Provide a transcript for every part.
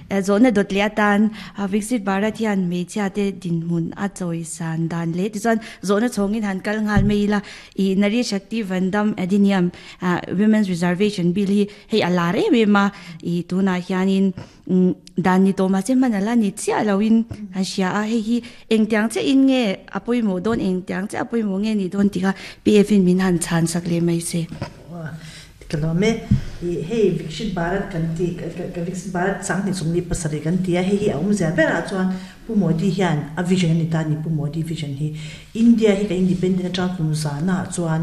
Zawhna dawt leh atan Viksit Bharat hian hmeichhia te dinhmun a chawisan dan leh tichuan zawhna chhawngin han kal nghal mai ila ih Nari Shakti Vandam Adhiniyam Women's Reservation Bill hi hei a lar em em a ih tunah hianin dan ni tawh mahse hman ala ni chiah loin an hria a hei hi engtiang chiahin nge a pawimawh dawn engtiang chiah a pawimawh nge nih dawn tih kha PF in min han chhan sak leh mai se. Ka lawm e. Ih hei Vikshit Bharat kan ti ka Vikshit Bharat Sanghnih Sawmli pasarih kan ti a, hei hi a awmzia berah chuan Pu Modi hian a vision a ni ta a ni, Pu Modi vision hi. India hi kan independent atang kum zana chuan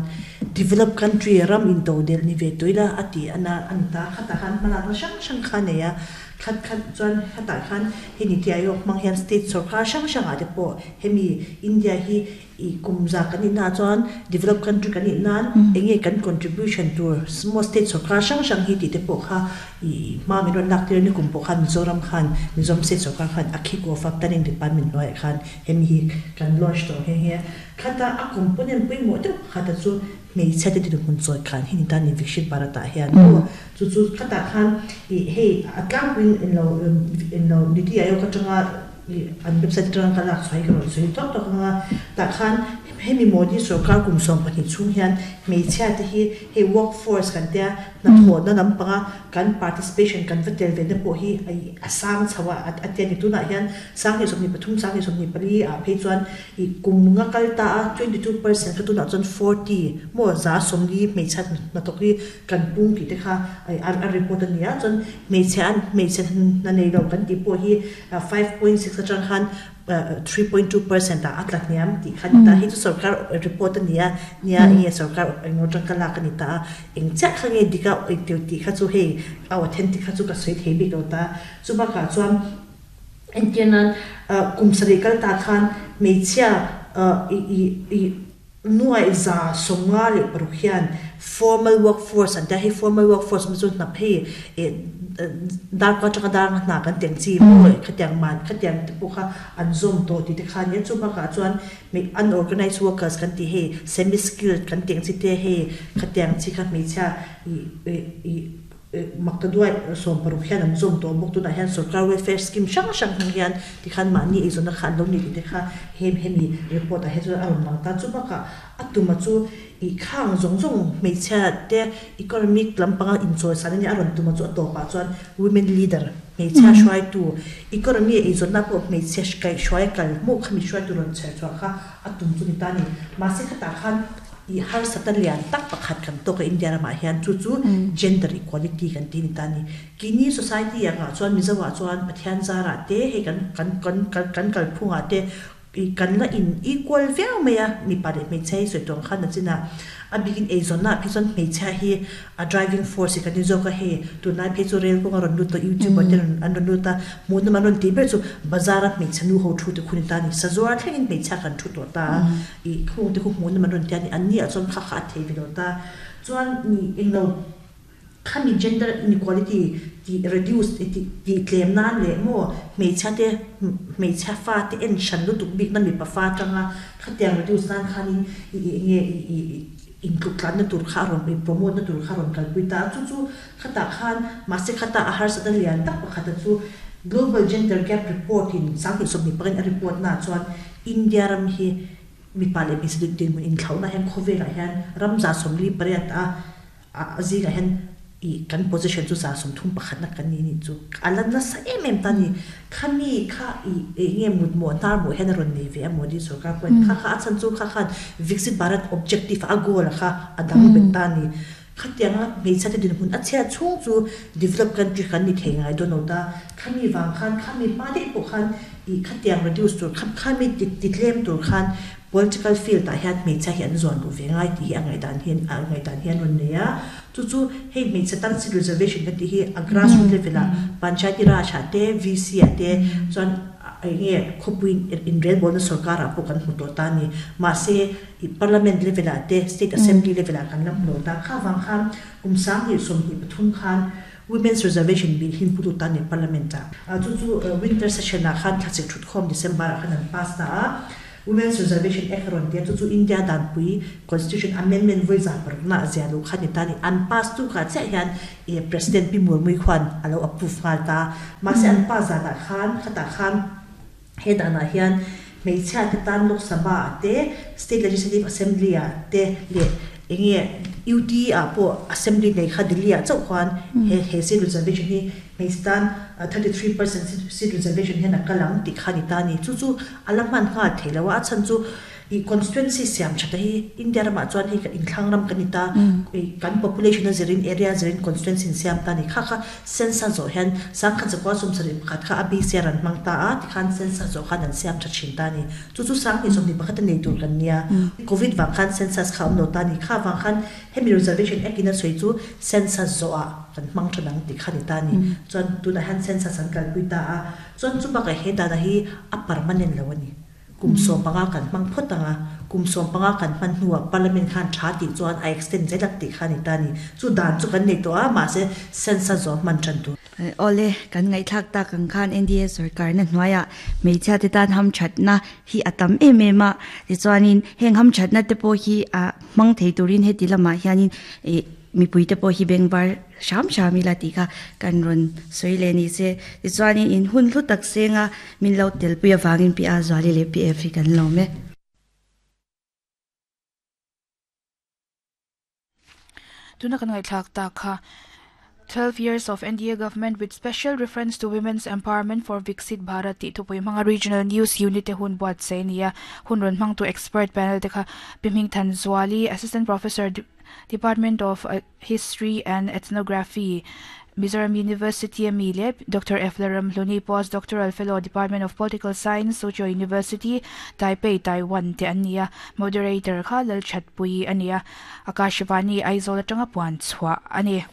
developed country ram intodelh ni ve tawh ila a ti ana a ni ta. Khatah khan hmalakna hrang hrang kha a nei a, khat khat chuan khatah khan hei Niti Aayog hmang hian state sawrkar hrang hrangah te pawh hemi India hi I kum za kan nih naah chuan develop country kan nih nan eng nge kan contribution tur small state sorkar hrang hrang hi tih te pawh kha i hma min rawn lak tir a ni kum pawh khan Mizoram khan Mizoram state sorkar khan a kick off a planning department hnuaiah khan hemi hi kan launch tawh nghe nghe a. Khata a component pawimawh deuh pakhata chu hmeichhia te dinhmun chawi khan hi ni ta ni Vikshit Bharat ah hian maw chu chu khatah khan i hei a tlangpuiin englo englo Niti Aayog atanga Ih, an website atanga ka lak chhuah hi ka rawn sawi tawk tawk ang a, tah khan hemi Modi sorkar kum 12 chhung hian hmeichhia te hi hei work force kan tia hnathawhna lampanga kan participation kan va tel ve na pawh hi a sang chho a, a tia ni. Tunah hian 2023, 2024 ah phei chuan ih kum nga kal ta a 22% kha tunah chuan 40 maw 40 hmeichhia hnathawk hi kan pung tih te kha a report a ni a, chuan hmeichhia an hmeichhe hna nei lo kan tih pawh hi 5.6 atang khan 3.2% ah a tla hniam tih kha a ni ta. Hei chu sorkar report a ni a, nia enge sorkar engemaw atang ka lak a ni ta a, eng chiah kha nge dik a engteu tih kha chu hei a authentic kha chu ka sawi thei bik lo ta. Chu bakah chuan entir nan kum sarih kal ta khan hmeichhia i Nuaih 56 hian formal workforce an tia, hei formal workforce awm chu hnap hei eh darkua atanga dar anga hna kan teng chi maw khatiang man khatiang te pawh kha an zawm tawh tih te kha a nia, chu bakah chuan unorganised workers kan tih hei semi skilled kan teng chi te hei khatiang chi kha hmeichhia ih ih Makta duai 60 hian an zawm tawh bawk. Tunah hian sorkar welfare scheme hrang hrang hmang hian tikhan mahni eizawnna kha an lo nei tih te kha hem hemi report ah hian chuan a rawn lang ta. Chu bakah a tuma chu ih khang zawng zawng hmeichhia te economic lampanga inchawisan a nia a rawn tuma chu a tawpah chuan women leader hmeichhia hruaitu economy eizawnna pawh hmeichhia kaihhruai a kal hmuh khami hruaitu rawn chher chhuah kha a tum chu ni ta a ni. Mahse khatah khan I harsatna lian tak pakhat kan tawk a India ramah hian chu chu gender equality kan tih a ni ta a ni. Kini society angah chuan Mizo ah chuan Pathian zarah te hei kan kan kan kan kalphungah te i kan la in equal viau mai a mipa leh hmeichhia hi sawi tawng khan a chin a, a bikin eizawnna ah phei chuan hmeichhia hi a driving force hi kan ni zawk a hei tunlai phei chu rail kawng a rawn lut tawh youtuber te rawn an rawn lut a hmuh nawm an rawn tih ber chu bazar a hmeichhe nu ho thu te khu ni ta a ni sazuar thlengin hmeichhia kan thu tawh ta a ih khung te khu hmuh nawm an rawn ti a ni an ni ah chuan kha kha a thei ve lo ta chuan nih englo khami gender inequality tih reduce tih tih tlem nan leh maw hmeichhia te hmeichhia fa te en hran lutuk bik na mipa fa atanga khatiang reduce nan khanin ih ih enge ih ih Intluk tlanna tur kha a rawn promote na tur kha a rawn kalpui ta a, chu chu khatah khan mahse khata a harsatna lian tak pakhata chu Global Gender Gap Report in 2020 in a report naah chuan India ram hi mipa leh hmeichhe dinhmun inthlauhna hian khawvelah hian ram 48 a a zingah hian I kan position chu 31 na kan ni nih chu a la nasa em em ta ni. Khami kha i eng nge mut mawh hnar mawh hian a rawn nei ve a Modi sorkar pawhin kha kha a chhan chu kha khan Viksit Bharat objective a goal a kha a dang bet ta ni. Khatianga hmeichhia te dinhmun a chhiat chhung chu develop country kan ni thei ngai dawn lo ta. Khami vang khan khami hma daih pawh khan i khatiang reduce tur kha khami ti tlem tur khan Political field ah hian hmeichhia hi an zuan duh ve ngai tih hi a ngaihdan hi a ngaihdan hi an rawn nei a. Chu chu hei hmeichhe tan seat reservation kan tih hi a grassroot level ah Panchayati Raj ah te, VC ah te chuan eng nge khawpui inrelbawlna sorkar ah pawh kan hmu tawh ta a ni. Mahse i parliament level ah te, state assembly level ah kan la hmu lo ta. Kha vang khan kum 2023 khan Women's Reservation Bill hi hmu lut ta a ni parliament ah. Chu chu winter session ah khan thlasik thutkhawm December ah khan an pass ta a. Women's Reservation Act a rawn ti a, chu chu India danpui Constitution Amendment vawi za parukna a zia luh kha a ni ta a ni. An pass tu kha chiah hian ih President Pi Murmui khuan a lo approve nghal ta. Mahse an pass zanah khan khatah khan he danah hian hmeichhia te tan Lok Sabha ah te, State Legislative Assembly ah te leh eng nge UT ah pawh Assembly nei kha Delhi ah chauh khuan he he seat reservation hi hmeichhe tan 33% seat reservation hian a kal ang tih kha a ni ta a ni. Chu chu a la hman nghal thei lo a, a chhan chu Ih constituency siam that a hi India ramah chuan hei inthlang ram kan ni ta, ih kan population a zirin area a zirin constituency in siam ta a ni. Kha kha census zawh hian sangkhat zakua sawmsarih pakhat kha a BC a rawn hmang ta a, tikhan census zawh khan an siam tha thin ta a ni. Chu chu sanghnih sawmhnih pakhat a nei tur kan nia. Covid vang khan census kha a awm lo ta a ni. Kha vang khan hemi reservation act in a sawi chu census zawhah kan hmang tha dang tih kha a ni ta a ni. Chuan tunah hian census an kalpui ta a, chuan chu bakah he data hi a permanent lo a ni. Kum 15 kan hmang phawt ang a, kum 15 kan hman hnuah Parliament khan tha tih chuan a extend zel ang tih kha a ni ta a ni. Chu dan chu kan nei tawh a, mahse census zawh hman tan tur. Awle, kan ngaihthlak tak ang khan NDA sorkarna hnuaiah hmeichhia te tan hamthatna hi a tam em em a, tichuanin heng hamthatna te pawh hi a hmang thei turin heti lamah hianin ih mipui te pawh hi bengvar hram hram ila tih kha kan rawn sawi leh ni se. Tichuanin in hun hlu tak senga min lo telpui avangin Pi A Zuali leh Pi F hi kan lawm e. Tuna kan ngaihthlak tak kha 12 years of NDA government with special reference to women's empowerment for Viksit Bharat tih thupui hmanga Regional News Unit te hun buatsaih a ni a. Hun rawn hmangtu expert panel te kha Pi Hmingthan Zuali, Assistant Professor, Department of History and Ethnography, Mizoram University a mi leh Doctor F Laramhluni, Postdoctoral Fellow, Department of Political Science, Soochow University, Taipei, Taiwan te an ni a. Moderator kha Lalthatpuii a ni a, Akashvani, Aizawl atanga puan chhuah a ni.